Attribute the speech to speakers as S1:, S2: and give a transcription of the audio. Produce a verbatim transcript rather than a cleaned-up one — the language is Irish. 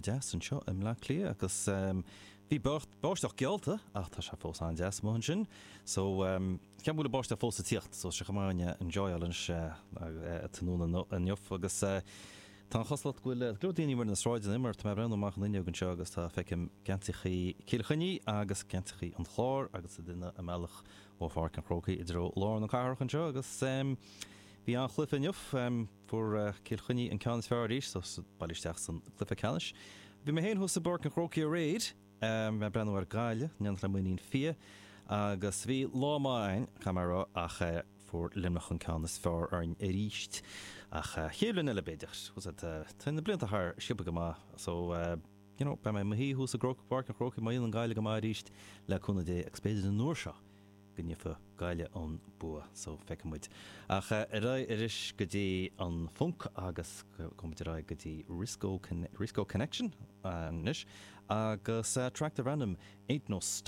S1: deas anseo i mBleá Cliath agus um, bhí báisteach geallta ach tá sé fós an-deas amuigh ansin. So um, ceapaim go bhfuil báisteach fós ag tíocht, so sé chomh enjoyáil tráthnóna inniu agus uh, Tá choslat ghfuil go daoine mar na sráid immer tá breú amach an fhuinneog anseo agus tá feicim geansaithe Chill Chainnigh agus geansaithe an Chláir agus a duine a mbealach ó Pháirc an Chrócaigh i dtreo lár na cathrach anseo agus um, bhí an-chluiche inniu um, fuair uh, Cill Chainnigh an ceann is fearr arís so bailithe isteach san cluiche ceannais. Bhí mé féin thuas i bPáirc an Chrócaigh aréir um, me breú ar gáile nean le muíon fia agus bhí lá maith camrá ach uh, fuair Luimneach an ceann is fearr orainn arís ach uh, chéile eile b'fhéidir tá na blianta thar sciobtha go maith so uh, you know, beidh mé i mo shuí thuas i gPáirc an Chrócaigh má an Gaillimh go maith arís le cúnamh Dé agus b'fhéidir an uair seo go ndéanfaidh Gaillimh an bua so feicfidh muid. Ach uh, ar arís go dtí an funk agus gabhfaidh muid ar go dtí Risco, Con Risco Connection anois agus uh, track darb ainm Ain't No